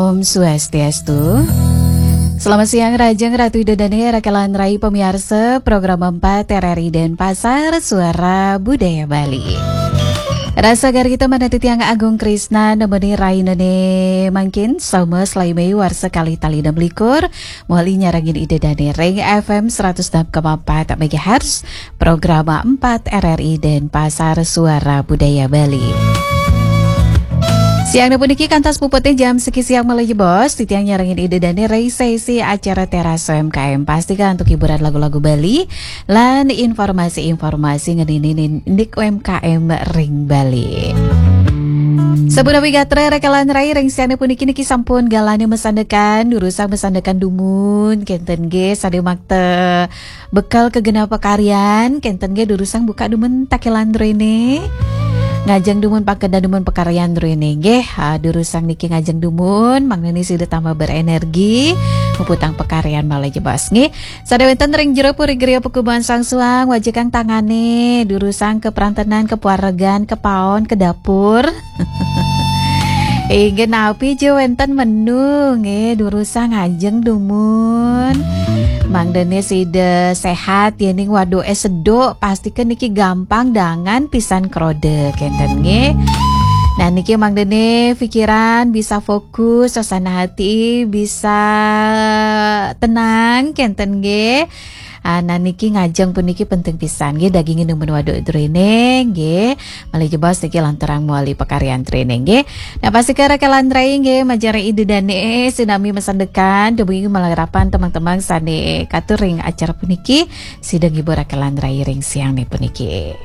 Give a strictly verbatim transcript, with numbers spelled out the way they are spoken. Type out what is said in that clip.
Om Swastiastu. Selamat siang, Rajeng Ratu Ida Dane, Rakelan Rai, pemirsa program empat R R I Denpasar, Suara Budaya Bali. Rasa garita manah titiang Agung Krisna nemeni rainane mangkin, Selasa selawe Mei warsa kalih tali enam likur, mawali nyarengin Ida Dane ring F M seratus enam koma empat megahertz, program empat R R I Denpasar, Suara Budaya Bali. Siang puniki kantos puputne jam siki siang malih jebos, titiang nyarengin Ida Dane ring sesi acara Teras U M K M, pastika antuk hiburan lagu-lagu Bali lan informasi-informasi ngeninin indik U M K M ring Bali. Sapunapi gatra Rakelan Rai, ring siang puniki niki sampun galahne masandekan, durusang masandekan dumun, kenten nggih, sane makta bekal ka genah pakaryan, kenten nggih, durusang buka dumun takelan druene. Ngajeng dumun pangkeda dumun pakaryan druene nggih. Ha, durusang niki ngajeng dumun, mangdane sida tambah berenergi, muputang pakaryan malih jebos nggih. Sane wenten ring jero puri griya pakubuhan Sang Suang, wajikang tangane, durusang ka prantenan, ka pawaregan, ka paon, ka dapur. Inggih napi ja wenten menu nggih, durusang ngajeng dumun. Mangdane sida sehat, yening waduke seduk, pastika niki gampang dangan pisan kroda, kenten nggih. Nah, niki mangdane pikiran bisa fokus, suasana hati bisa tenang, kenten nggih. Ah, nah, niki ngajeng puniki penting pisan nggih, daginge dumun waduk druene nggih. Malih jebos niki lanturang mawali pakaryan druene nggih. Nah, pastika Rakelan Rai nggih, majeng Ida Dane sinami masandekan, dumugi malarapan temang-temang sane katur ring acara puniki, sida ngibur Rakelan Rai ring siangne puniki.